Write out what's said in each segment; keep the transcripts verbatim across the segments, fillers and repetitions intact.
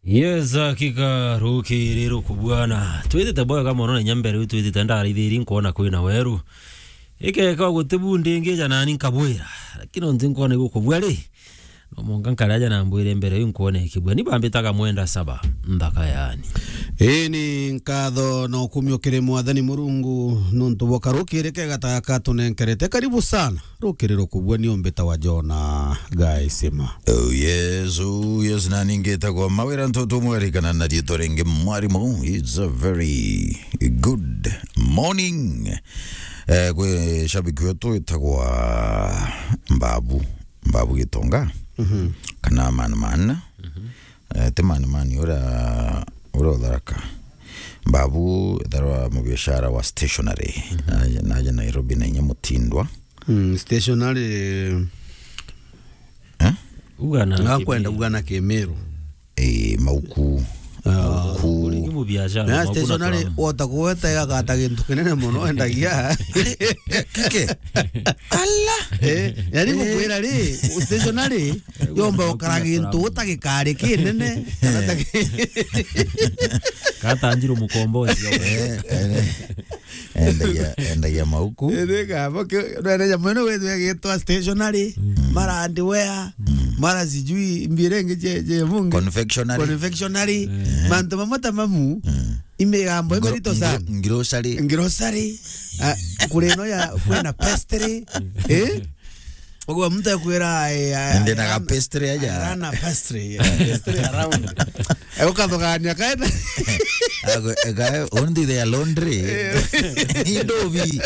Yes, hakika rukiri rukubwana. Twitite bwega mono na inya mbere u twitite ndaraithiri nkwona kwina weru. Ikeka guti bu ndingija nani nkabwira. Lakini onti nkwona igukubua ri. No mwanka nkare aja na mbwire mbere u nkwone ikibua. Ni bambitaga mwenda saba. Nthaka yani. Ii ni nkatho na ukumio kiri Mwathani Murungu nuntu bwa karukiri kega ta gaka tunenkerete. Karibu sana. Rukiri rukubua ni umbita wa Jona Gaisima. Oh yes, oh yes, na ningitagwa Mawira Ntoto Mweri kana na riitwa ringi Mwarimu. It's a very good morning. Eh, kwi shabiki wetu witagwa Mbabu, Mbabu Gitonga. Mhm. Kana Man Man. Mhm. Eh, ti Man Man uria, uria utharaka. Mbabu etharwa mubiashara wa stationery. Mhm. Naja, naja Nairobi na inya mutindwa. Mm, stationery. Eh? Uga na Ngakwenda kimiru. Uga na kimiru. Eh, mauku. Ah. Mauku. Uri ni mubiashara, na mauku na stationery kalamu. Wota kuweta igagata gintu kinene muno endagia. Kike. Ala. Eh, yani gukwira ri, stationery yomba ukara gintu utagikari kinene. Kana ta ki- Katanjiro mukombozi. Eh, eh. Endagia, endagia mauku. Ithika, boke, nene jamu ino wethwe gitwa stationery, mm, mara underwear, mm, mara sijui mbire ngi je, je mungi. Confectionery. Confectionery. Eh. Mantu mamwe ta mamu, mm, imigambo gro-, imirito sana. Gro-, grocery. Grocery. Ah, kuri ino ya kwina pastry. Eh? Oguo muntu akwira, eh, eh, ndi na ga pastry aja. Arana pastry, eh, pastry around. Eh, ukathugania kaenda. Ago, eh, ga, only their laundry. Eh. Indovi.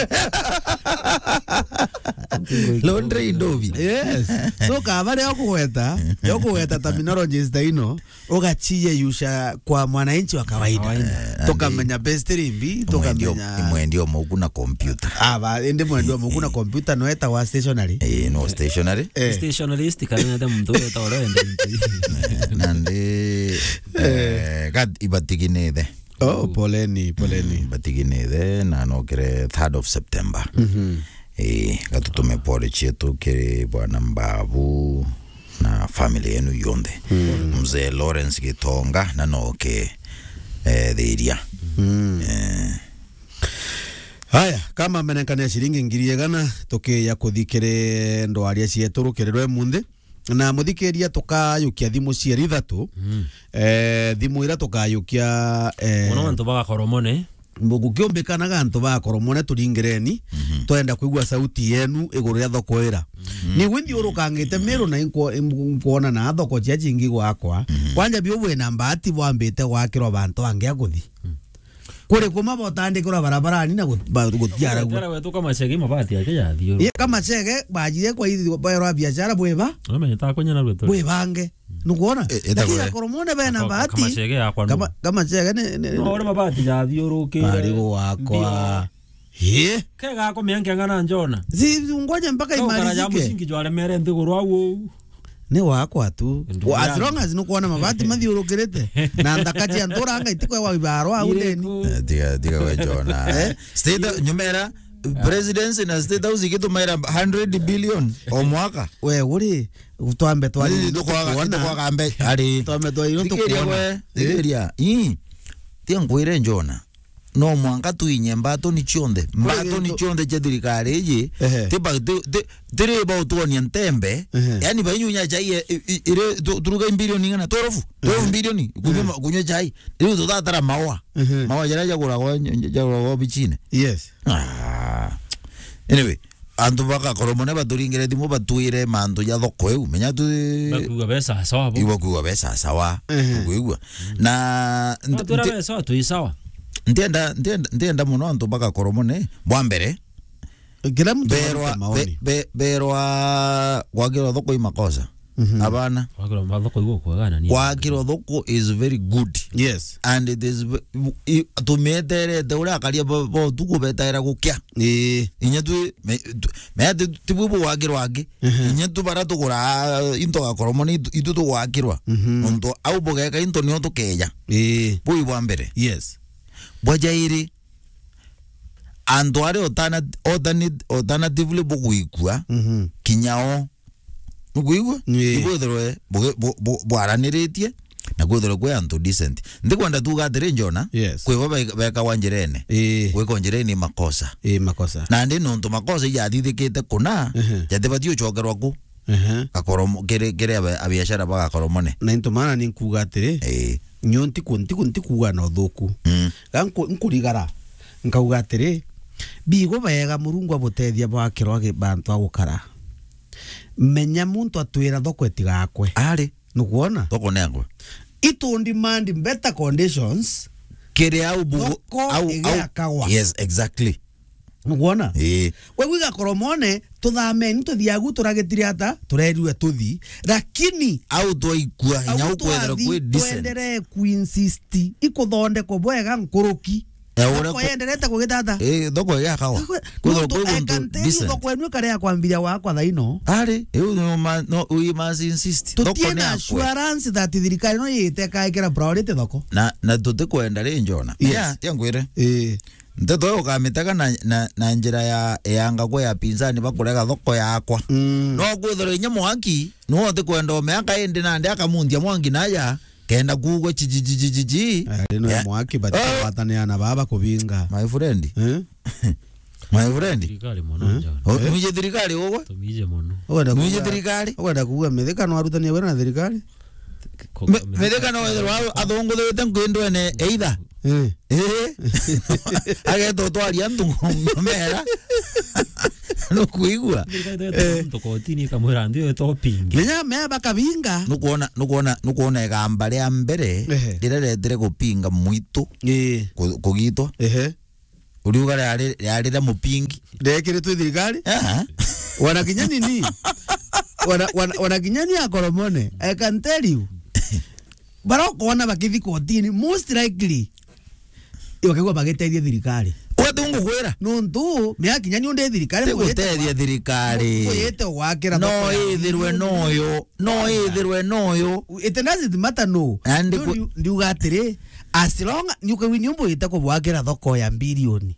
Laundry indovi. Yes. So, kaba rio kugweta, rio kugweta terminologies ta ino, ugaciye yusha kwa mwananchi wa kawaida. Kawaida. Eh, tukamenya best rimbi, tukamenya mwendio mauku na computer. Ah, ba, indi mwendio mauku na computer no eta wa stationery. Eh, no stationery. Eh. Stationerist kana nete muntu weta ore ende. Eh, nandi, eh, kat ibatiginithe. Oh, poleni, poleni. Mm, batiginithe na nokire third of September. Mhm. Eh, gatutume pole cietu kiri bwana Mbabu na family yenu yonthe. Mm. Mzee Lawrence Gitonga na noke, eh, thiria. Mm. Eh. Haya, kama amenenkania ciringi ngiri igana, tukiya kuthi kiri ndwaria cietu rukiri rwe munthi. Na muthikiria tukayukia thimu cieri ithatu. Mm. Eh, thimu ira tukayukia, eh, muno antu bagakoromone. Gukiumbikanaga antu ba Koromone turingireni, mhm, twenda kwigua sauti yenu iguru ria thoko ira. Mhm. Ni gwi nthiurukangite Meru na inkwo-, im-, nkwona na thoko cia cingi gwakwa. Mhm. Kwanja biu bwina mbaati bwambite gwakirwa bantu bangi a kuthi. Mm. Kuri kuma botandikirwa barabarani na gut-, ba-, gutiaragua. Tera wetu Kamachege mabati yake ya thiuru. Ye Kamachege bajire kwa ithi baerwa biashara bwiba. Amenye ta kunya na rwetu. Bwibange. Nukwona? E, etago lakini e. Akoromone bena bahati. Kamachege yakwa nu. Kama, Kamachege ni, ni, no, ore mabati jathiurukire. Ari gwakwa. Ye. Kega akomea nkeng'ana njona. Si, ngoja mpaka imalizike. Kau karaja musingi jwaremere nthiguru au. Ni wakwa tu. Ndugu yangu. As long as nukwona mabati mathiurukirite. Na nthaka cia nturanga itikwe wa ibaro au ndeni. Iriku? Eh, tiga, tiga we Jona. Eh? State, nyumera, presidency na State House igitumaira hundred billion o mwaka. We, uri, twambe twari. Ii, tukwaga, tukwaga mbe-, ari. Twambe twari, thikiria tukuona. We, thikiria. Ii. Tia nkwire Jona. No mwanka tuinye mbatoni cionthe. Mbatoni cionthe cia thirikari iji. Ehe. Tiba, ti, ti, tiri ba utuonia ntembe. Ehe. Yani bainyunya chai, e, i, i, iri, tu, turuga bilioni ng'ana? Twelve? Twelve bilioni? Kunywa, ehe, ma-, kunywa chai. Riu tutatara maua. Ehe. Maua jaria jaguragwa, jaguragwa bichine. Yes. Ah. Anyway, antu bagakoromone baturingire thimu batwire mantu ja thoko iu. Menya tu- bakuga be sawa sawa bo. Iu bakuga be sawa sawa. Ehe. Ukwigua? Na nt-, batwira nti-, be sawa, twi sawa. Ntienda, ntienda, ntienda muno antu bagakoromone. Bwa mbere, kila mtu berwa, arute maoni. Be-, be-, berwa gwakirwa thoko i makosa. Mhm. Abana. Gwakirwa thoko igu kwega na ni. Gwakirwa thoko is very good. Yes. And it is ve-, i-, tumeterete uria akaria bo, bo tu kubetaira gukia. Ii. Inya tu, me, tu, me ati tibwo bwakirwa angi. Mhm. Inya tu bara tugura, ah, into gakoromone itu, itu tugwakirwa. Mhm. Nontu au bugeka into nio tukeja. Ii. Bui bwa mbere. Yes. Bwa jairi, antu aria alternat-, alternat-, alternatively bugwikua, mhm, kinya o. Nukwigua? Ii. Ibwithirwe bu-, bu-, bu-, bwaraniritie, na Kwithirwe kwi antu decent. Ndikwenda tuuga atiri, Njona, Yes. kwi bo be-, bekagwa njirene. Ii. Gwikwa njirene ni makosa. Ii, makosa. Na ndi nontu makosa ijathithikite kuna, Ehe. jatibati ucokerwa ku. Ehe. Gakoromo-, kiri, kiri abe-, abiashara ba Gakoromone. Na into maana ni nkuuga atiri, Ii. nyo ntiku-, ntiku-, ntikuuga na uthuku. Mm. Ga nku-, nkurigara, nkauga atiri, bigo bega Murungu abutethia bwakirwa gi-, bantu a gukara. Menya muntu atwira thoko itigakwe. Ari. Nukwona? Thoko nengwe. Itu demand better conditions. Kiri au bugu-, Thoko au, au, igiakagwa. Yes, exactly. Nukwona? Ii. Kwi igakoromone, tuthameni tuthiagu turagitire ata, turerirwe tuthi. Lakini Au twaikua, au inya ukwethirwa twathi, kwi decent. Twenderee kuinsist, ikuthondekwo bwega nkuruki. Eh, uria Thoko ku- yenderete kugitata. Eh, thoko ya kawa. Thoko, Kwithirwa nontu kwi I guntu can tell you decent. Thoko enu ikari ya kwambiria gwakwa thaa ino. Ari, iu no ma-, no, we must insist. Thoko Tutie ni na akwe. Assurance that thirikari no yite kaikira priority thoko. Na, na tutikwenda ri, Njona. Yes. Ya, tia ngwire. Eh. Nteto iyo ukamitega na, na, na njira ya, ya ngagwe ya pinzani bakurega thoko yakwa. Mm. No kwithirwa inya mwaki, no utikwenda umeaka indi nandi akamunthia mwangi naja. Kenda kuugwa chi, chi, chi, chi, chi, chi. Eh, rino ya Ya. Mwaki, but Ah! Twatanea na baba kubinga. My friend. Eh? My friend. Thirikari mono, Eh? John. Oh, Eh? Mwije thirikari ugwe? Tumije mono. Ugwenda Mwije kuuga, thirikari? Ugwenda kuuga Mithika no arutania wira na thirikari? Ko-, Me-, Mithika no wethirwa athongothete nkwindwene either. Eh. Eh. Ageta utwaria antu ngomera. Nukuigua? Thirikari itaitwa Eh. Muntu kotini ikamwira ndio ito pingi. Menya me bakabinga. Nukwona, nukwona, nukwona igamba ria mbere Ehe. Riria retire gupinga mwitu Ii. ku-, kugitwa. Ehe. Uriuga riari, riari ria mupingi. Riekire twi thirikari? Aha. Wana kinya nini? Wana, wana, wana kinya ni akoromone. I can tell you. Bara ukona bakithi kotini, most likely, bakigwa bagiteithia thirikari. Wati ungukwira? Nontu, mea kinya ni undi thirikari, Ti guteethia thirikari. Muyite gwakira No thoko ya ithirwe bilioni. Noyo, no ithirwe noyo. It doesn't matter no. And Ndio ku- ndiu-, ndiuga atiri, as long, ni ukawini umbu ite kubwakira thoko ya bilioni.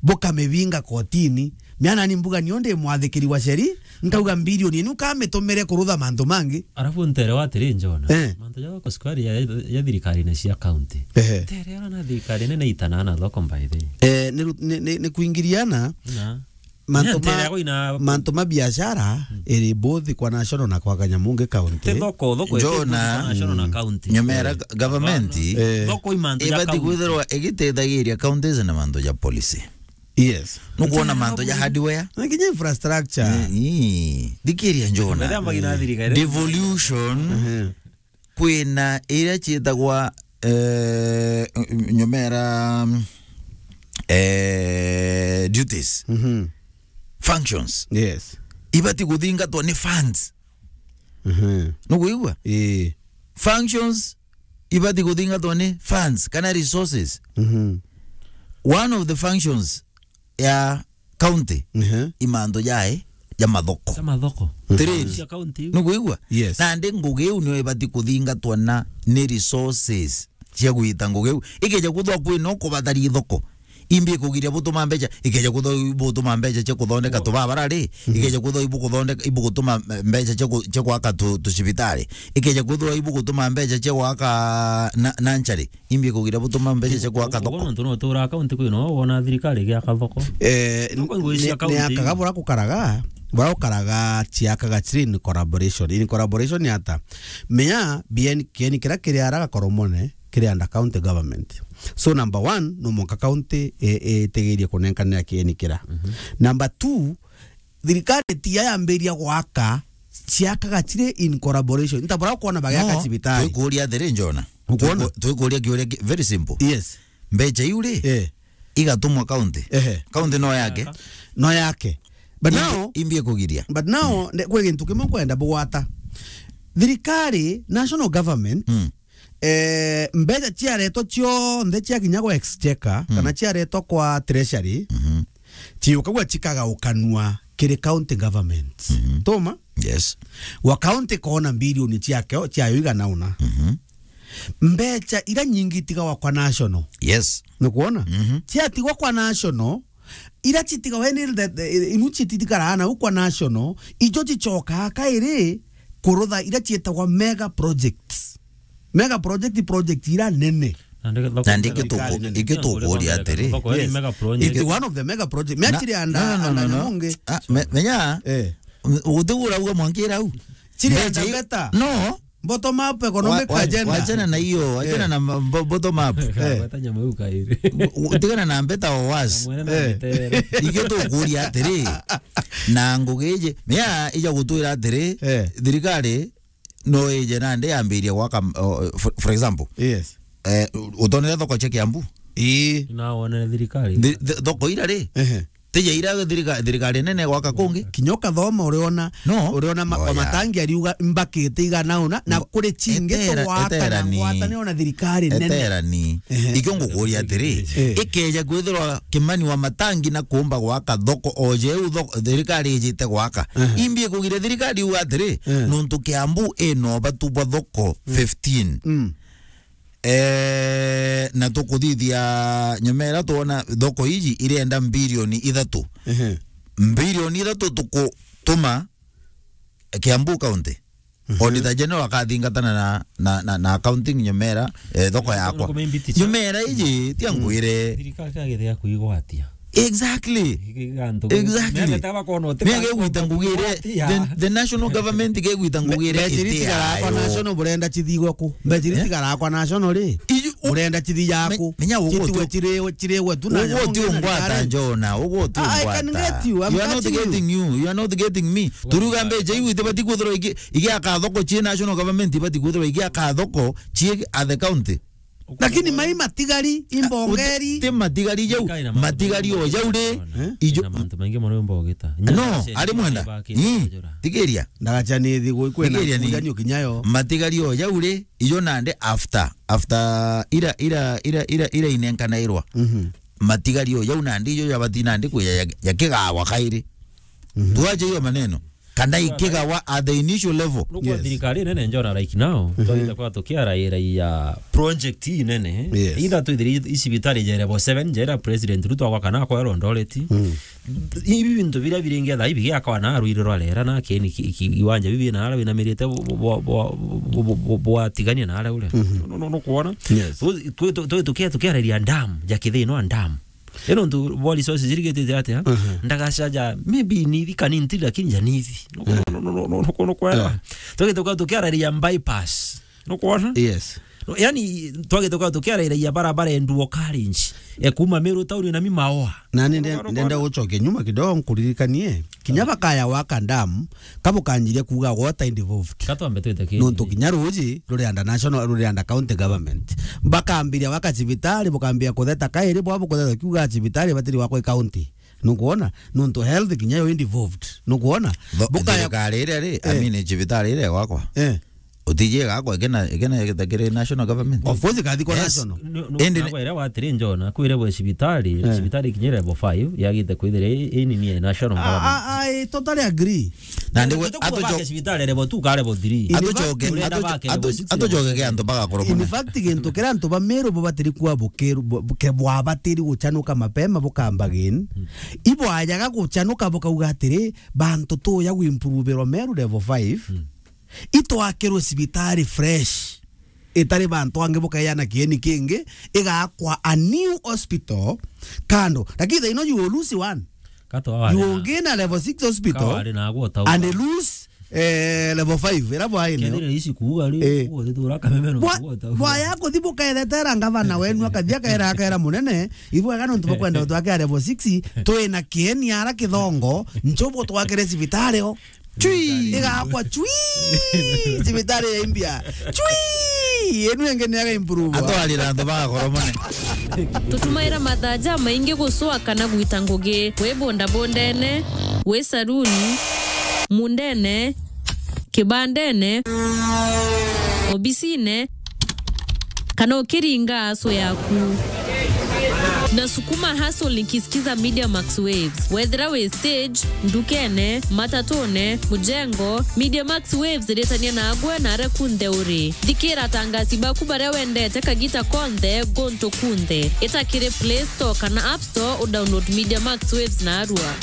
Bukamibinga kotini. Miana ni mbuga ni undi mwathikiri wa sheri, nkauga bilioni ni ukamitumire kurutha mantu mangi. Arafu ntere wa atiri, Njona. Eh. Mantu ja thoko sukari ya, ya thirikari ni cia county. Ehe. Ntere ona na thirikari nene itana na thoko by the way. Eh, ni ru-, ni, ni, ni kuingiriana. Na. Mantu Ntere ma, yako ina mantu ma biashara Mm. iri both kwa national na kwa Kanyamungi county. Te thoko, thoko Njona, ite kwa national na mm, county. Nyomera Eh. Ga-, government Hapana. Eh. Thoko i mantu ja ibati county. Kwithirwa igiteithagiria counties na mantu ja policy. Yes. Nukwona Ntere mantu ja yako hardware. Na kinya infrastructure. Eh, ii. Thikiria Njona. Methamba ina thirikari. Devolution. Ehe. Kwina iria ciitagwa, eh, nyomera, eh, duties, Mhm. functions. Yes. Ibati kuthingatwa ni funds. Mhm. Nukuigua? Ii. Functions ibati kuthingatwa ni funds kana resources. Mhm. One of the functions ya county, Ehe. i mantu jae ja mathoko. Ja mathoko. Trade. Cia county. Nukuigua? Yes. Nandi ngugi iu nio ibati kuthingatwa na ni resources cia gwita ngugi iu. Ikeja kuthwa kwina ukubatari thoko, imbi kugiria butuma mbeca, ikeja kuthwa ibutuma mbeca cia kuthondeka Wo. tubabara ri, Mhm. ikeja kuthwa ibukuthondeka, ibugutuma mbeca cia ku-, cia gwaka tu-, tucibitari, ikeja kuthwa ibugutuma mbeca cia gwaka na, na nchari. Imbi kugira butuma mbeca cia gwaka thoko. Uguo nontu no utura akaunti kwina wona thirikari igiaka thoko. Eh, Thoko ni, ngugi cia ni, ni akaunti akaga iu. Bura gukaraga, bura gukaraga ciakaga ciri in collaboration. In collaboration ni ata? Menya bien kieni kiria kiri ara Gakoromone kiri under county government. So number one, no mwanka county e, e, itegerie kunenkanira kieni kira. Mhm. Number two, thirikari ti yayambiria gwaka, ciakaga ciri in collaboration. Nta bura ukona bagiaka No, cibitari. Twikuria atiri, Njona. Ukwona? Twiku-, twikuria kiuria ki-, very simple. Yes. Mbeca iu ri, Eh. igatumwa county. Ehe. County no yake. No yake. But Imbi-, now, imbi ikugiria. But now, Mm. ne-, kwi gintu kimwe nkwenda bugwata. Thirikari, national government, Mm. eh, mbeca ciaretwa cionthe ciakinya gwa exchequer, Mm. kana ciaretwa kwa treasury, Mhm. ciukagwa cikagaukanua kiri county government. Mhm. Tuma? Yes. Wa county kona bilioni ciake, ciayo igana una. Mhm. Mbeca ira nyingi itigawa kwa national. Yes. Nukwona? Mhm. Ciatigwa kwa national, ira citigawa ni the, the, inu cititikara na kwa national, ijo cicokaa kairi kurutha ira cietagwa mega projects. Mega project, project ira nene. Na ndeke thoko Na ndeke nene. Thirikari tuku-, nene. Iki tukuria atiri. Thoko ni Yes. Mega project. It is one of the mega project. Me Na, atiri anda, no, no, no, anda no, no. Nyamunge. Ah, me-, menya, Eh. Uti urauga mwangira au. Chiri Mbecha anda i-, beta. No. Bottom up economic Wa-, wa-, agenda. Wachana na hiyo, wachana Eh. na ma-, bo-, bottom up. Eh. Gweta nyama iu kairi. U-, u-, tigana na mbeta o was. Mwene na Eh. mbetere. Ikio tukuria atiri. Na ngugi iji, mea ija gutwira atiri, Eh. thirikari no ije nandi yambirie gwaka, o, for, for example, Yes. eh, utonere thoko cia Kiambu? Ii. Na wonere thirikari. Thi-, thi-, thoko ira ri? Ehe. Tija ira thirika-, thirikari nene gwaka kungi? Kinya ukathoma uriona, No. uriona ma-, Oya. matangi ariuga mbakite igana una, na No. kuri chingi Etera-, tugwaka na eterani. ngwataniro na thirikari nene. Eterani. Ehe. Ikio ngukuria atiri, Eh. ikeja kwithirwa Kimani wa matangi na kuumba gwaka thoko, o jeu thoko, thirikari ijite gwaka. Ehe. Imbi ikugire thirikari iuga atiri, Eh. nontu Kiambu ina ubatu bwa thoko Mm. fifteen. Mm. Eh, na tukuthithia nyuma iria twona thoko iji irenda mbirioni ithatu. Ehe. Mbirioni ithatu tukutuma Kiambu County. Mhm. Auditor General akathingatana na, na, na, na accounting nyuma iria, eh, thoko yakwa. Nyuma iria iji, tia Mm. ngwire. Thirikari kagithia kuigwatia. Exactly. Exactly. Mega gwita ngugire, the, the national government gegwita ngugire Mbecha iria itigarakwa national burenda cithigwe ku? Mbecha iria Eh? itigarakwa national ri? Iju-, u-, Burenda cithigwe me-, ku? menya uguo Citigwe tu-, ciri-, cirigwe tu na uguo ti ungwata, Njona, uguo ti ungwata. I can get you, I'm getting you. You are not getting you, you are not getting me. Turiuga mbecha iu itibati kwithirwa iki-, igiaka thoko cie national government, ibati kwithirwa igiaka thoko cie at the county. Lakini mai matigari, imbongeri. Ti matigari jau, matigari o jau ri, ijo na mantu maingi mono mbogita. No, ari mwenda. Ii, tigiria. Ndagacha ni thi gwi kwena Tigiria ni. Kujanio kinyayo. Matigari o jau ri, ijo nandi after, after ira, ira, ira, ira, ira inenkanairwa. Mhm. Matigari o jau nandi ijo jabati nandi kuya ya, ya kigawa kairi. Mhm. Tuache hiyo maneno. Kana ikigawa at the initial level. Nukwa Yes. thirikari nene Njona right now, Mhm. twaitha kwa tukiaraira ya project ii nene. Yes. Either twithiri i cibitari ja level seven, ja ira President Ruto agwa kana akwa Eldoret. Mm. Ibi bintu biria biringi thaa ibi giakwa na rwiri rwa rera na keni ki-, ki-, kiwanja bibi na ara winamirite bu-, bu-, bu-, bwatigania na ara ure. Mhm. No, no, no, nukwona? Yes. Tu-, tu-, tu-, tu-, tukia-, tukiararia dam, ja kithino dam. Ino ntu bo resources irigitite atia? Mhm. Ndagacaja, maybe nithi kanini tu, lakini ja nithi. No, Eh. no, no, no, no, no, no, kwera. Eh. Twagite kwa tukiararia bypass. No kwona? Yes. No, yani, twagite kwa tukiararia barabara enduo carriage. E kuma Meru town na Mimaoa. Na ni No, no, no, ndenda no. gucokia nyuma kidogo nkuririkanie. Kinya bakaya gwaka dam, kabukanjiria kuuga water involved. Katwambe twite ki? Nontu kinya ruuji rurianda national, rurianda county government. Bakambiria gwaka cibitari, bukambiria kutheta kairi, bwa bukutheta kiuga cibitari batiri gwakwa i county. Nukwona? Nontu health kinya yo involved. Nukwona? Tho-, Bukaya thirikari iria ri, I Eh. mean, cibitari iria gwakwa. Eh. Utiji igakwa ikena, ikena igitakiri national government. Of course, ikathi kwa Yes. national. No, no, Indi na kwere watiri Njona, kwire bwe cibitari, Eh. cibitari kinya level five, yagite kwithira i, i nini ya national Ah, government. ah, ah, I totally agree. Na ndi Tuku atujo- bake cibitari level two ka level three. In fact, Atujoke, Urenda atu-, bake atu-, level six, atujoke level seven. Antu bagakorwo In muna. fact, gintu kiria antu ba Meru bubatiri kuwa bukiru-, bu-, buke-, bwabatiri guchanuka mapema bukamba gin. Mm. Ibwajaga guchanuka bukauga atiri, bantu tuya gwimproverwa Meru level five. Mm. Itwakirwe cibitari fresh, itari bantu angi bukeana kieni kingi, igakwa a new hospital kando. Lakini thaino you will lose one. Kato You wari will na, gain a level six hospital kawari na agwo tau. and lose, eh, level five, ira bwaine. Kethira ici kuuga ri, Eh. uguo thithura kameme no Bwa-, kuuga tau. bwaya kuthi bukethetera ngavana wenu akathi akaera, akaera munene, ibwega nontu bukwenda utwakira level six, twina kieni ara kithongo, ncho butwakire cibitari o. Chui! Igakwa chui! Cibitari ya India. Chui! Enu ingi ni aga improve. Atwarira antu bagakora mone. Tutumaira mathaa jamaingi gucua kana gwita ngugi. Wi bondabondene, wi saruni, mundene, kibandene, obisine, kana ukiringa aso yaku. Nasukuma hustle nikisikiza Media Max Waves. Wethira wi stage, ndukene, matatune, mujengo, Media Max Waves iritania nagwe na aria kunthe uri. Thikira atangasi baku baria wendete kagita konthe, guntu kunthe. Ita kiri Play Store kana App Store, udownload Media Max Waves narua.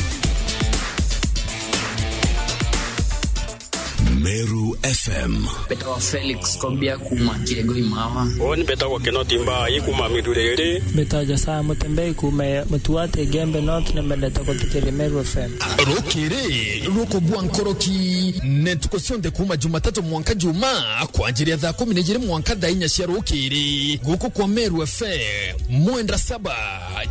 Meru F M. Mbetawa Felix Kobia kuma Kiego Imawa. Woni mbetagwa Kinoti Mbai kuma Miduriri. Mbetawa Josiah Mutembei kuma Mutuati Gembe North, na mbendete guthikiria Meru F M. Rukiri rukubua nkoroki, ne ntuku cionthe kuma Jumatatu mwanka Juma, kwanjiria thaa kumi na ijiri mwanka thaa inya cia rukiri, guku kwa Meru F M. Mwendwa Saba,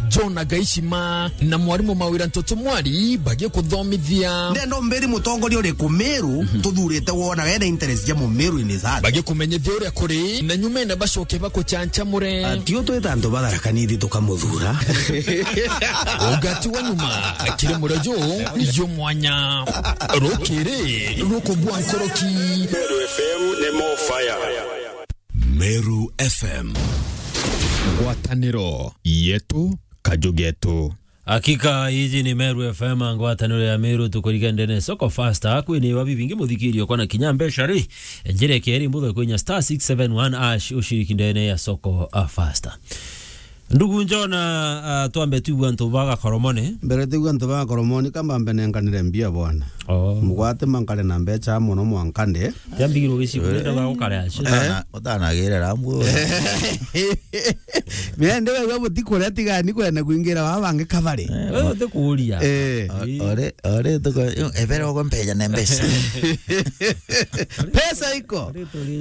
John Agaishima, na mwarimu Mawira Ntoto Mwari bagikuthomithia. Ndenda umbiri mutongoria uriku Meru tuthurite wona wena interest ja Mumeru in his heart. Bagikumenyithia uria kuri, na nyumene bacoke bakuchanchamure. Ati utwita antu ba Tharaka Nithi tukamuthura. Ugati wa nyuma, kiri murio ju, ju mwanya. Rukiri rukubua nkoroki. Meru F M ni more fire. Meru F M. Ngwataniro yetu, kaju getu. Hakika, iji ni Meru F M, ngwataniro ya Meru, tukurika ndene soko faster. Kwini wa bibingi muthikirio kwana kinya mbeca ri, njire keri mbutho kwinya star six seven one hash ushiriki ndene ya soko, ah, faster. Ndugu Njona, ah, twambe tuigua antu ba Gakoromone. Mbere tuigua antu ba Gakoromone, kamba mbe nenkanire mbia bwana. Oh. Mugwate mankare na mbeca mono mwankande. Yambigirwo gicigo, nenda ba gukare acio. Utana-, utanagire rambu. Mende wewe butikuria tigani kwenda kuingira baba bangi kabare. Eh, wewe utikuria. Eh. O-, ore, ore tuko, ebere ogo mpeja na mbeca. Pesa iko.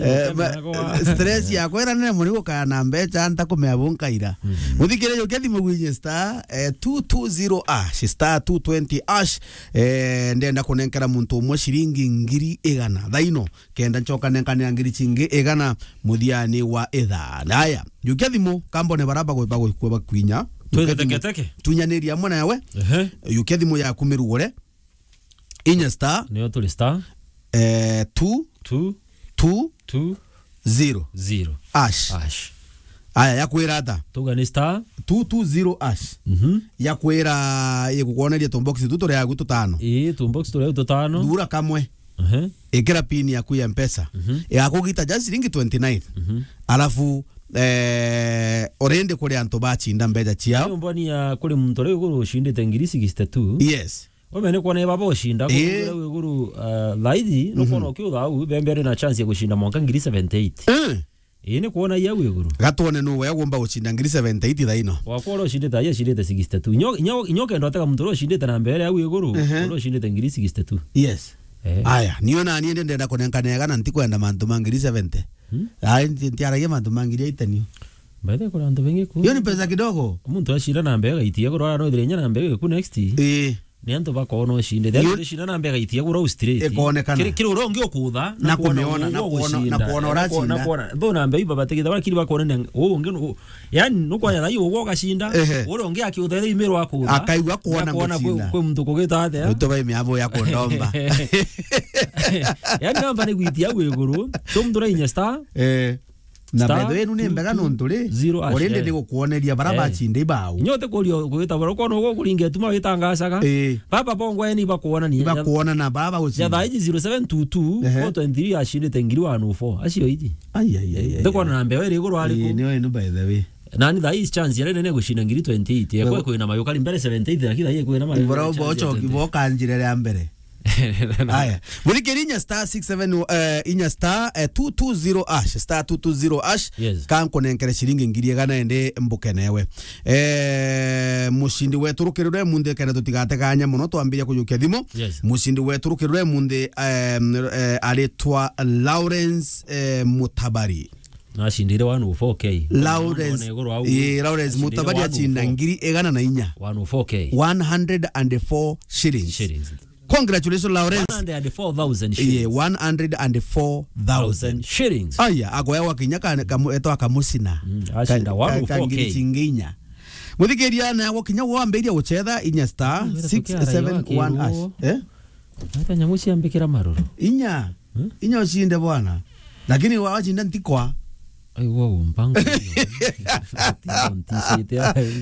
Eh, ma-, stress ya kwera nene muri gukaya na mbeca ntakumea bunkaira. Muthikire yo kethi mugwinye star, eh, two two zero hash, star two twenty hash. Eh, ndenda kunenkera muntu umwe ciringi ngiri igana. Thaino, kenda ncoka nenkanira ngiri cingi igana muthiani wa ithaa. Aya, yukia thimu, kambone bara bagwe-, bagwe-, bakwinya. Twite teke teke. Tunyaniria amwe nawe. Ehe. Yukia thimu yaku mirugure. Inya star. Niyo turi star. Eh, two. Two. Two. Two. Zero. Zero. Hash. Hash. Aya, yakwira ata? Tuga ni star. Two two zero hash. Mhm. Yakwira, igukwoneria tumbox tu turia agu tutano. Ii, tumbox turia agu tutano. Thura kamwe. Ehe. Ikira pin yaku ya Mpesa. Mhm. Igakugita just ciringi twenty nine. Mhm. Alafu, eh, already kuri antu bachinda mbeca ciao. Iyo mboni ya kuri muntu uria iguru ucindite ngiri sixty two. Yes. Omene kwona baba ucinda, ii, kugira iguru, ah, thaithi, nukwona ukiutha au, bembe ari na chance ya gucinda mwanka ngiri seventy eight. Eh. Ii, ni kwona i au iguru. Gatwone nu we agomba gucinda ngiri seventy eight thaino. Wakwa uria ucindite, ai acindite sixty two. Nyo, nyo, nyo kenda utega muntu uria ucindite na mbere au iguru, ehe, uria ucindite ngiri sixty two. Yes. Eh. Aya, niyo nani ende ndenda kunenkana igana, ntikwenda mantu ma ngiri seventy. Hmm? Ai, nti-, ntiaragia mantu ma ngiri eighty nio. By the way, kuri antu bengi ku. Hiyo ni pesa kidogo. Muntu acira na mbere gaitia kurwara no thire nya na mbere ku next. Eh. Ni antu bakoona ucindite. Yo- Antu ucindite na mbere gaitia kura straight. Ikonekana. Kiri, kiri uria ungi ukutha, na kuona, na kuona, na kuona uracinda. Na kuona, nthu na mbere ibabatigitha, bakiri bakoona ni u ungi nu-, yani, nukwona thai ugwo ugacinda, ehe, uria ungi akiutha thai imiro akutha. Akaigua kuona, na kuona kwi, gucinda. Kwi muntu kugita atia. Utu bai miabo ya kundomba. Yani, namba ni gwitia au iguru. So, muntu urainya star. Eh. Na star by the way, inu ni mbega two two zero hash, nontu ri, zero hash, already, eh, ni gukwoneria bara, eh, bacinde ibao. Nyote kurio gwita bara, ukoona uguo kuringa ituma witangacaga. Eh. Baba bongo yani bakuona ni. Ibakuona na baba ucinda. Ya thaa iji zero seven two two, ehe, four twenty three acindite ngiri one oh four. Acio iji. Ai, ai, ai, ai, ndikuona ai. Na mbeo iri iguru ariku. Ii, niyo inu by the way. Nani thaa iji chance ya nene gucinda ngiri twenty eight. Ekwe kwina mayo kari mbere seventy eight, lakini thaa iji kwina mayo. Ibora chance ya ubocho twenty. Kiboka njire ya mbere. Aya. Muthikiri inya star six seven, eh, inya star, eh, two two zero hash, star two two zero hash. Yes. Kankunenkere ciringi ngiri igana ende mbukenewe. Eh, mucindi wetu rukirure munthi kenda tutigateganya muno twambiria kujukia thimu. Yes. Mucindi wetu rukirure munthi, eh, eh, aritwa Lawrence, eh, Mutabari. Nacindire one oh four K. Lawrence, one oh four K. Ii, Lawrence Mutabari acinda ngiri igana na inya. One oh four K. One hundred and four shillings. Shillings. Congratulations, Lawrence. One hundred and four thousand shillings. Yeah, one hundred and four thousand shillings. Aya, agoya gwa kinya ka, kamu-, etwa kamucina. Mm, acinda ka, ka, one oh four K. Ka ngiri cingi inya. Muthikiria na gwa kinya wambiria gucetha inya star six seven one hash. Eh? Ata nyamu ciambikira maruru. Inya? Hmm? Inya ucinde bwana. Lakini wa-, wacinda ntikwa. Ai, wa umpango. Ntishite.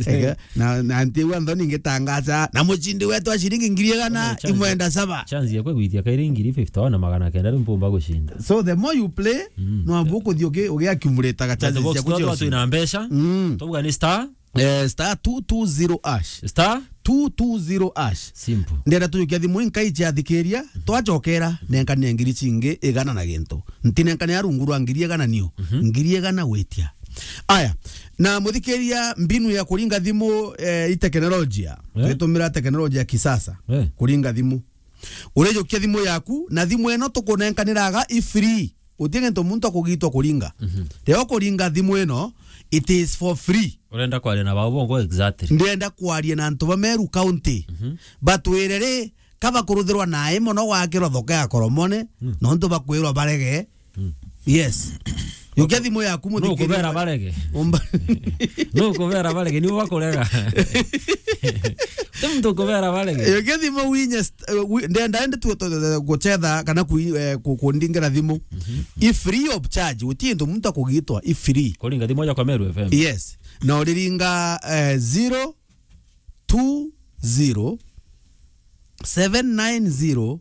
Ega, na, na nti wa nthoni ngitangaza, na mucindi wetu wa ciringi ngiri igana, imwenda saba. Chance ya kwigwitia kairi ngiri fifty na magana kenda riu mpumba gucinda. So the more you play, mm, no ambu kuthi ugi-, ugi accumulate ga chances cia kucia. Twina mbeca. Mm. Tuga ni star. Eh, star two two zero hash. Star? two two zero hash. Simple. Ndenda tujukia thimu inkai ciathikiria, twacokera, nenkanire ngiri cingi igana na gintu. Ntinenkanira rungu rwa ngiri igana niu. Mhm. Ngiri igana gwitia. Aya, na muthikiria mbinu ya kuringa thimu, eh, i teknolojia. Eh? Twitumira teknolojia ya kisasa. Eh. Kuringa thimu. Urijukia thimu yaku, na thimu ino tukunenkaniraga i free. Uti gintu muntu akugitwa kuringa. Mhm. Riria ukuringa thimu ino, it is for free. Urenda kwaria na bau bongo exactly? Ndienda kwaria na antu ba Meru County. Mhm. Batwire ri, ka bakuruthirwa nae mono gwakirwa thoko ya Koromone, mm, nontu bakwirwa barege. Mm. Yes. Jukia thimu yaku, muthikiria. Nukubera barege. Umba- Nukubera barege, nibo bakurega. Ti muntu ukubera barege. Jukia thimu winye st-, eh, wi-, ndenda ende tu, tu, tu, gucetha kana ku-, eh, ku-, kundingira thimu. Mhm. I free of charge, uti gintu muntu akugitwa, i free. Kuringa thimu moja kwa Meru F M. Yes. Na uriringa, eh, zero two zero seven nine zero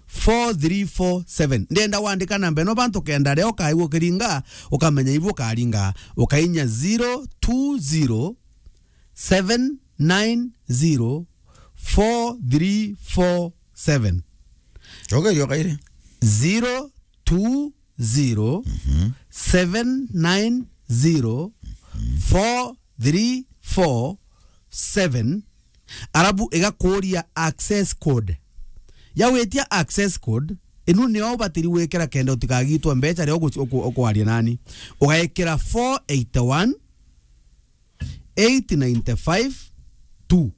four three four seven. Ndenda wandika namba ino bantu kenda riria ukaigua ukiringa, ukamenya ibu ukaringa, ukainya zero two zero seven nine zero four three four seven. Cokeria kairi. Zero two zero seven nine zero four three four seven. Arabu igakuria access code. Ya witia access code, inu nio ubatiri gwikira kenda utikagitwe mbeca riria ugu-, uku-, ukwaria nani. Ugaikira four eight one eight nine five two.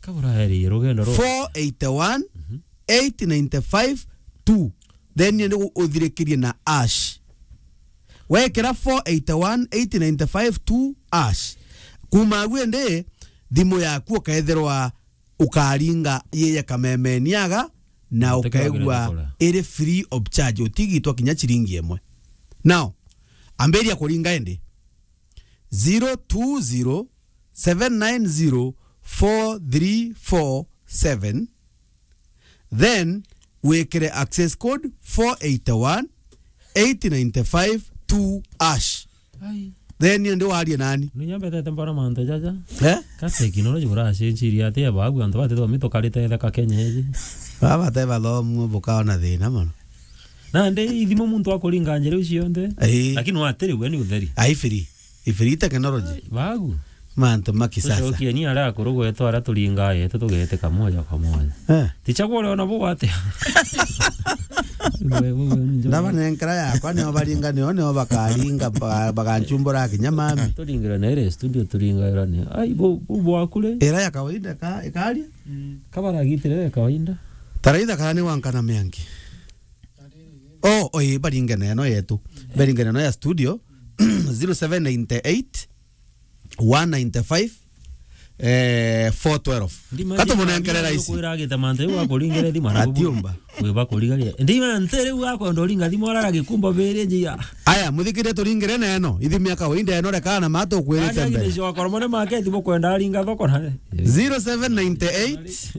Kabura heri rugendo ru. Four eight one eight nine five two. Then ni uthirikirie na hash. Wekira four eight one eight nine five two hash. Kuma agu indi, thimu yaku ukaethirwa ukaringa yeye kamemeniaga na ukaigua iri free of charge, utigitwa kinya ciringi imwe. Now, ambiria kuringa indi. Zero two zero seven nine zero four three four seven. Then wikire access code four eight one eight nine five two hash. Ai. Then ni ndi warie nani? Ni nyambetete mbona mantu jaja. Eh? Ka technology buracenjirie atia bagu antu batithomi tukarite theka Kenya iji. Baba te bathomu bukaona thina mono. Na ndi ithimo muntu akuringa njira iu cionthe. Ii. Lakini watiri we ni utheri. Ai free. Ifiri technology. Bagu. Mantu ma kisasa. Tucokie ni aria akuru gwetu aria turingaa yetu tugetika moja kwa moja. Eh. Tichagua uria ona bu atia. Ndabanenkera yakwa, nio baringa, nio, nio bakaringa, ba-, baganchumbura kinya mami. Turingire na ire studio turingaira ni. Ai, bu, bu bwaku ri? Ira ya kawaida ka, ikaria? Kabaragitire ya kawaida. Taraitha kana ni wankana miangi. Oh, oh, ii, baringe na ino yetu. Baringe na ino ya studio, zero seven nine eight, one nine five, eh, four twelve. Katumunengere raisi. Kwira agita mantu iu akuringire thima na atiumba. Wiba kurigaria. Ndi mantu riu akwenda uringa thimo arara gikumba biri njia. Aya, muthikire turingire na ino. Ithimi ya kawaida ino rekana na matu kwirite mbere. Aja githio akoromone make thimo kwenda aringa thoko na. Zero seven nine eight,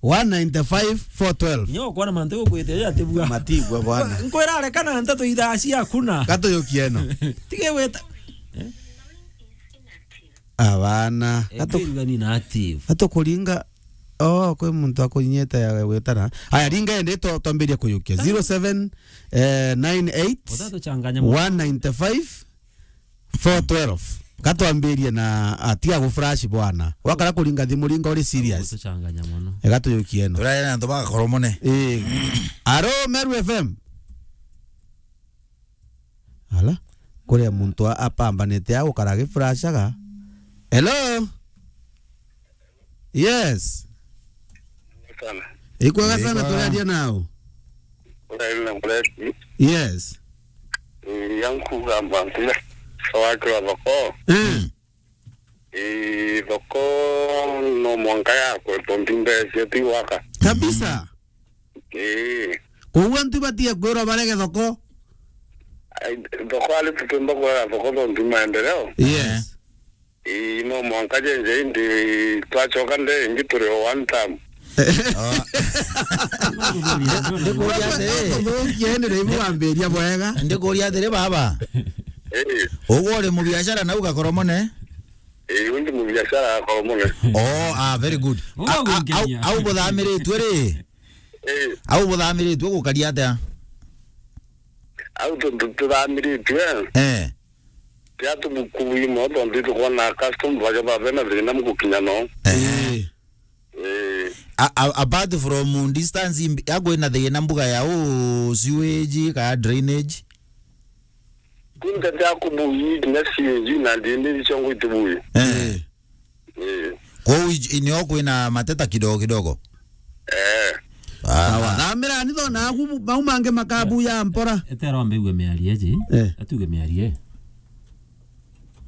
one nine five, four twelve. Nyo kwana mantu gukwite ya tibua. Matigwa bwana. Nkwira arekana nteto ithaa cia kuna. Gatuyukie ino. Tige weta. Eh? Abana. Atu-, ethirwa ni na active. Atukuringa. Oh, kwi muntu akunyite ya gwitana. Aya, ringa indi to-, twambirie kuyukia. Zero seven nine eight, utatuchanganya mono, one nine five, four twelve. Katwambirie na, ah, tiga gu flash bwana. Wakara kuringa thimu ringa uri serious. Utatuchanganya mono. Ega tuyukie ino. Turaira na antu bagakoromone. Eh. Aro Meru F M. Ala. Kuria muntu a-, apambanite a gukara agi flashaga. Hello? Yes. Sana. Ikwega sana, turaria nao. Uraria na Muresi. Yes. Eh, yankuga mantu ya wakira thoko. Mm. Eh, thoko no mwanka yakwe, tontu mbeca ti waka. Kabisa. Eh. Koguo antu batie kwirwa barege thoko. Ai, thoko ari tutumba kwira thoko tontu maendeleo. Yes. Ii, no mwanka jenje indi twachoka nde ingi turi o one term. Oh. Ndikuria atiri. Ndikuria atiri baba. Ii. Uguo uri mubiashara na ugakoromone? Eh, undi mu biashara ya Koromone. Oh, ah, very good. Uga A-, a-, au, gukenia. Au buthamiritwe ri? Eh. Au buthamiritwe gukaria atia? Au tu-, tu-, tuthamiritwe. Eh. Tia tubukubuimo tontu itukwona customer baja babe na thina mugukinya no. Eh. Eh. Eh. A-, a-, apart from distance imbi-, ya kwina thina mbuga ya u sewage ka drainage? Kunte tia kubuyi kinya sewage na drainage ciongo itibuyi. Eh. Eh. Eh. Kwou ij-, inio kwina mateta kidogo kidogo? Eh. Ah. Sawa. Thamira ni thona aku mau mangi makabuya mpora. Etero mbigue miarie ji. Eh. Atuge miarie.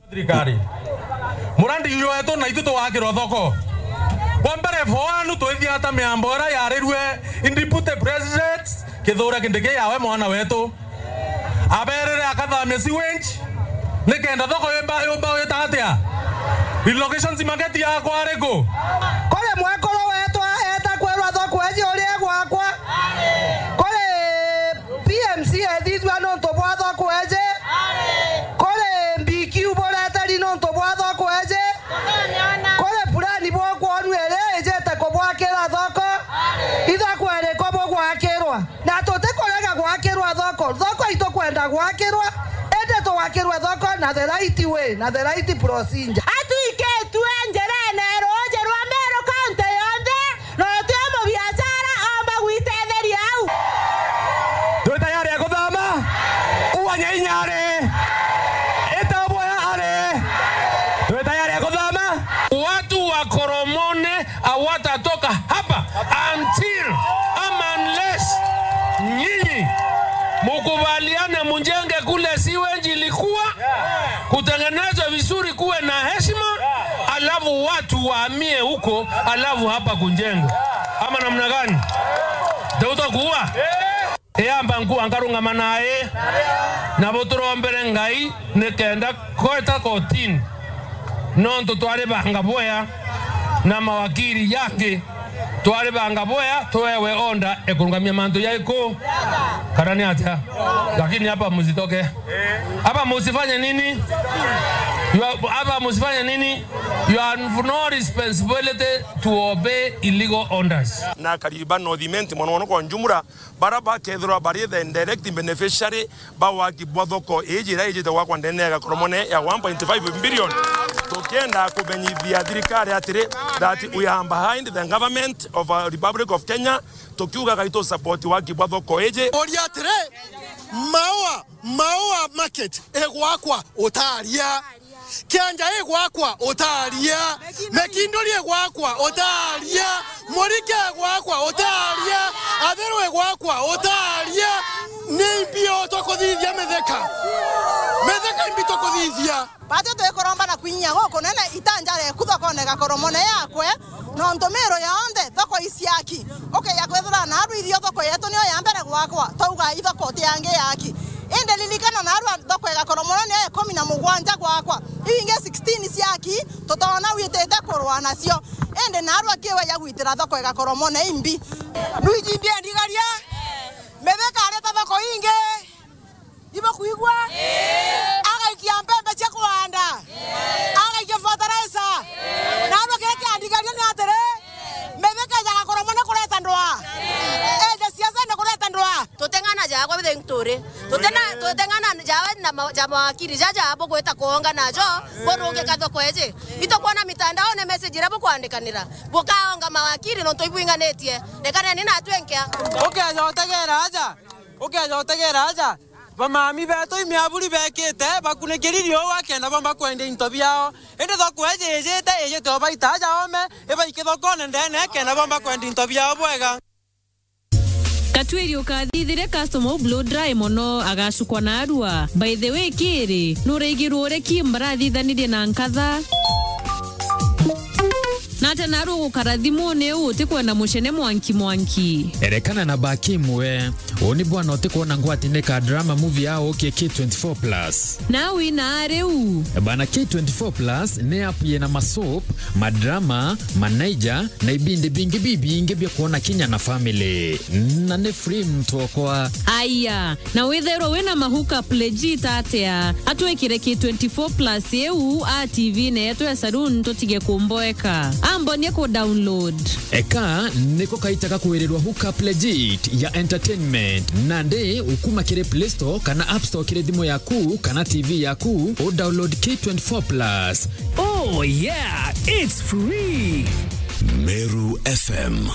Thirikari. Murandi uyu wetu na itu tugakirwa thoko. Kwa mbere, for one, twithia ta miambo iria yarirue in deputy president Kithure Kindiki yawe mwana wetu. Aberire akathamia sewage, nikenda thoko yumba, yumba wita atia? Relocations market yakwa ariku? Kuri mwekuru wetu eta kwirwa thoko eji uria egwakwa. Kuri P M C ethithua nontu bwa thoko eji. Kuri B Q bureteri nontu bwa thoko eji. Kuri purani bwokwonua iri ijite kubwakira thoko. Ithoko iriko bugwakirwa? Na tutikurega gwakirwa thoko. Thoko itukwenda gwakirwa, indi tugakirwe thoko na the right way, na the right procedure. Atwikitue njirene ruuji rwa Meru kaunti yonthe, na uti o mubiashara omba gwitetheria au. Twi tayari ya kuthama? Uwanya inya ari. Ita boya ari. Twi tayari ya kuthama? Watu wa Koromone hawatatoka hapa until ama unless nyinyi mukubaliane mjenge kule sewage ilikuwa, kutengenezwe vizuri, kuwe na heshima, alafu watu wahamie huko, alafu hapa kujengwe. Ama namna gani? Tutakuwa? Eyamba nkua nkarungama nae, nabo turombere Ngai nikenda kweta kotini, nontu twaribanga bwea na mawakiri yangi, twaribanga bwea tuewe order ekurungamia mantu jaiku, kana ni atia? Lakini hapa msitoke. Hapa msifanye nini? You are, hapa msifanye nini? You have no responsibility to obey illegal orders. Na Kariba North Imenti, mono mono kwa Njumura, bara bakethirwa bari the direct beneficiary ba waki bwa thoko iji iria ijite gwakwa ndene ya Gakoromone ya one point five billion. Tukienda kumenyithia thirikari atiri, that we are behind the government of, uh, Republic of Kenya, tukiuga gaitu support waki bwa thoko iji. Uria atiri, Maua, Maua market igwakwa utaria. Kianja igwakwa utaria. Mekindori igwakwa utaria. Murike igwakwa utaria. Athiru igwakwa utaria. Ni imbi tukuthithia Mithika? Mithika imbi tukuthithia? Batwi twikuromba na kwinyia gukunene itanja rieku thokone Gakoromone yakwe, nontu Meru yonthe thoko iciaki. Ukeja kwithira naarua ithio thoko yetu niyo ya mbere gwakwa, twauga ithoko ti yangi yaki. Indi ririkana naarua thoko ya Gakoromone niyo ya ikumi na mugwanja gwakwa. Iu ingi sixteen ciaki, tutoona witite kurua nacio. Indi naarua kiwe ya gwitira thoko ya Gakoromone imbi. Rwiji mbia ndigaria, Mithika areta thoko ingi. Ibo kuigua? Agaikia mbembe cia kuhanda. Agaikia fertilizer. Na andu kiria kiandigaria ni atiri, Mithika ejaga Gakoromone kureta ndwaa. Eja siasene kureta ndwaa. Tuteng'ana jawe bithing turi. Tutena-, tuteng'ana jawe na ma-, ja mawakiri jaja bugwita kuonga najo, burungika thoko iji. Itukwona mitandaone message iria bukwandikanira. Bukaonga mawakiri nontu ibwinganitie. Rekaneni natwi nkia. Ukeja utegera aja. Ukeja utegera aja. Bamami betu imiaburi bekite, bakunikiri riua kenda bomba kwendia into biao. Indi thoko iji ijite, ijite o baita aja ome, ibaiki thokone ndene kenda bomba kwendia into biao bwega. Katwiri ukathithiria customer u blow dry mono, agacukwa na arua. By the way, kiri, nuraigirwo uria Kim barathithanirie na nkatha? Nate naru ugukara thimuni u utikwenda mucene mwanki mwanki? Erekana na ba Kim we. Uni bwana utikwona ngwati ni ka drama movie ya ukie K twenty-four plus. Na wina riu. Bana, K twenty-four plus ni app yina masoap, madrama, manaija, na ibindi bingi bibingi bia kwona kinya na family. Na ni free mtu okwa. Aya, na withairwa wina ma hookup legit atia? Atwikire K twenty-four plus iu a T V netu ya saloon tutige kumboeka. Ambonie ku download. Eka niko kaita ga kwirirwa hookup legit ya entertainment. Nandi ukuma kiri Play Store kana App Store kiri thimu yaku kana T V yaku, u download K twenty-four plus. Oh yeah, it's free. Meru F M.